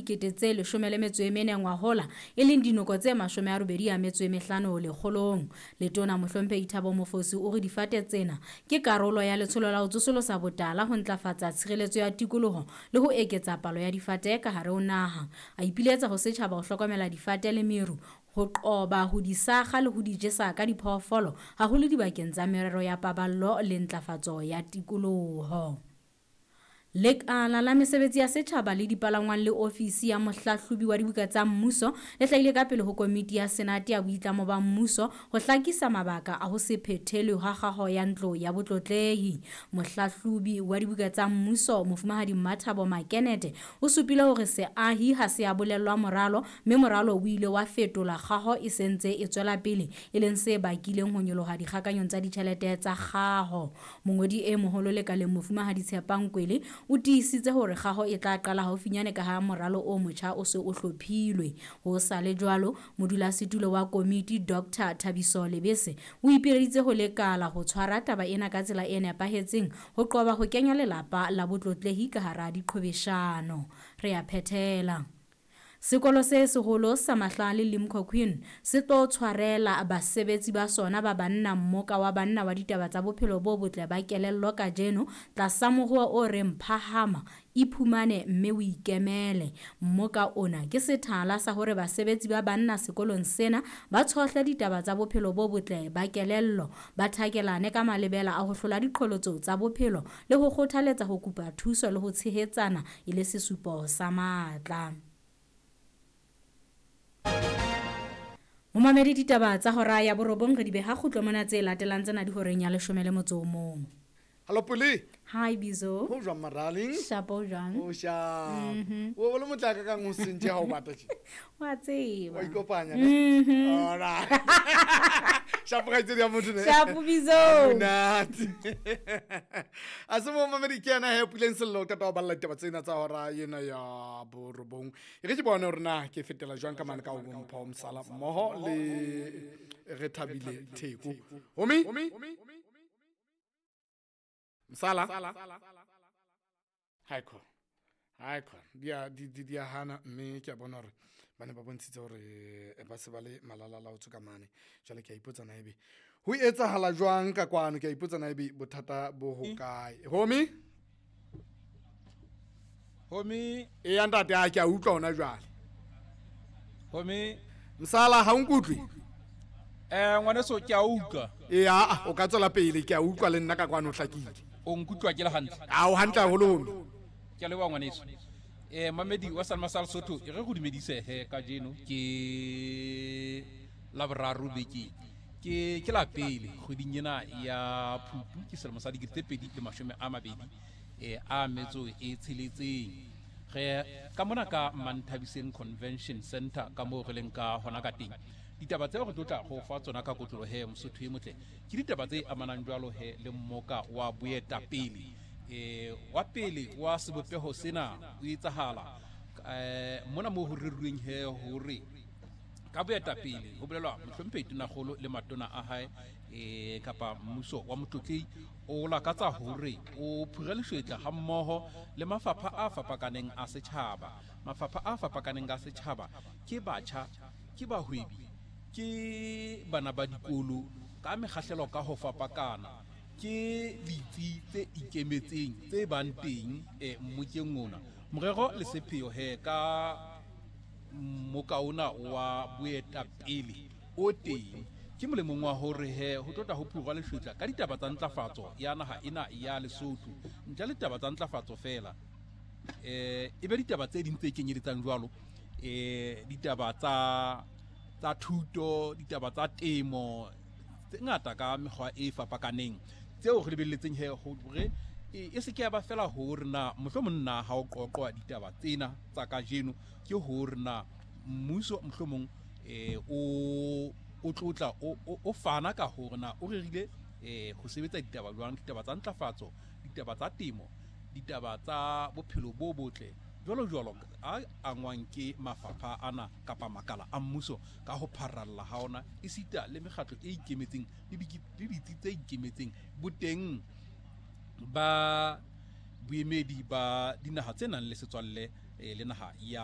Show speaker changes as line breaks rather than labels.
14,014 ngwahola, e leng dinoko tse 85 lekgolong. Letona Mohlomphehi Thabo Mofosi o re difate tsena ke karolo ya letsholo la ho tsosolosa botala, ho ntlafatsa tshireletso ya tikoloho le ho eketsa palo ya difate ka hare ho naha. A ipiletsa ho setjhaba ho hlokomela difate le meru, ho qoba ho di sakga le ho di jesa ka diphoofolo, haholo dibakeng tsa merero ya paballo le ntlafatso ya tikoloho. Lekala la mesebetsi ya setjhaba le dipalangwang le ofisi ya mohlahlobi wa dibuka tsa mmuso le hlahile ka pele ho komiti ya Senate ya boitlamo ba mmuso ho hlakisa mabaka a ho se phethelwe ha kgaho ya ntlo ya botlotlehi. Mohlahlobi wa dibuka tsa mmuso Mofumahadi Mmathabo Makenete o supile hore seahi ha se a bolellwa moralo, mme moralo o ile wa fetolwa kgaho e sentse e tswela pele, e leng se bakileng ho nyoloha dikgakanyong tsa ditjhelete tsa kgaho. Mongodi e moholo lekaleng Mofumahadi Tshepang Kwele o tiisitse hore kgaho e tla qala haufinyane ka ha moralo o motjha o se o hlophilwe. Ho sa le jwalo, modulasetulo wa komiti Dr. Thabiso Lebese o ipileditse ho lekala ho tshwara taba ena ka tsela e nepahetseng ho qoba ho kenya lelapa la botlotlehi ka hara diqhwebeshano. Re a phethela. Sekolo se seholo sa Mahlale Limkokwing se tlo tshwarela basebetsi ba sona ba banna mmoka wa banna wa ditaba tsa bophelo bo botle ba kelello kajeno tlasa moruo o reng phahama, iphumane mme o ikemele. Mmoka ona ke sethala sa hore basebetsi ba banna sekolong sena ba tshohle ditaba tsa bophelo bo botle ba kelello, ba thakelane ka malebela a ho hlola diqholotso tsa bophelo le ho kgothaletsa ho kopa thuso le ho tshehetsana e le sesupo sa matla. Momamedi, ditaba tsa hora ya 9 re di beha kgutlo mona, tse latelang tsena di horeng ya 11.
Hallo Pule.
Hi Bizo.
Ho jwang maraleng?
Shapo jwang?
O shap. O le motla ka kang o sentse ha o bata tje.
Wa tseba.
Wa ikopanya ne? All right. Shapo ga tsedi ya motho ne.
Shapo Bizo.
Monate. A se mo mamedi ke yena he Puleng Sello o qeta ho balla ditaba tsena tsa hora ena ya 9. E re ke bone hore na ke fetela jwang ka mane ka ho Mpho Msala mmoho le re Thabile Theko. Homi? Msala? Hai khona. Hai khona. Di a hana mme ke a bona hore ba ne ba bontshitse hore ba se ba le malalala ho tswa ka mane. Jwale ke a ipotsa na ebe ho etsahala jwang ka kwano, ke a ipotsa na ebe bothata bo hokae. Homi?
Homi?
E ntate a ke a utlwa hona jwale.
Homi?
Msala ha o nkutlwe?
Ngwaneso ke a utlwa.
E a o ka tswela pele, ke a utlwa le nna ka kwano hlakile.
O nkutlwa ke le hantle?
A o hantle haholo homi.
Ke a leboha ngwaneso. Mamedi wa Salma Sal Sotho e re go dumedise he kajeno ke Laboraro bekeng. Ke la pele kgweding ena ya Phupu, ke selemo sa 2026 a metso e tsheletseng. Re ka mona ka Manthabiseng Convention Center ka moo re leng ka hona ka teng. Ditaba tseo re tlo tla go fa tsona ka kotlolo he Mosotho e motle ke ditaba tse amanang jwalo he le mmoka wa boetapele. Wa pele wa sebopeho sena o etsahala mona moo ho reruweng he hore ka boetapele ho bolelwa mohlomphehi Tonakgolo le matona a hae kapa mmuso wa motlotlehi o lakatsa hore o phura leshwetla ha mmoho le mafapha a fapakaneng a setjhaba. Mafapha a fapakaneng a setjhaba ke batjha, ke bahwebi, ke bana ba dikolo ka mekgahlelo ka ho fapakana, ke ditsi tse ikemetseng tse bang teng mmokeng ona. Morero le sepheo he ka mmoka ona wa boetapele o teng ke molemong wa hore he ho tlotla ho phurwa leshwetla ka ditaba tsa ntlafatso ya naha ena ya Lesotho. Ntle le ditaba tsa ntlafatso fela, e be ditaba tse ding tse kenyeletsang jwalo, ditaba tsa thuto, ditaba tsa temo tse ngata ka mekgwa e fapakaneng tseo re lebelletseng he hore e se ke ya ba fela hore na mohlomong nna ha o qoqwa ditaba tsena tsa kajeno ke hore na mmuso mohlomong o tlotla o fana ka hore na o rerile ho sebetsa ditaba jwang, ditaba tsa ntlafatso, ditaba tsa temo, ditaba tsa bophelo bo botle jwalo jwalo a angwang ke mafapha ana kapa makala a mmuso ka ho pharalla ha ona, esita le mekgatlo e ikemetseng le ditsi tse ikemetseng boteng ba boemedi ba dinaha tse nang le setswalle le naha ya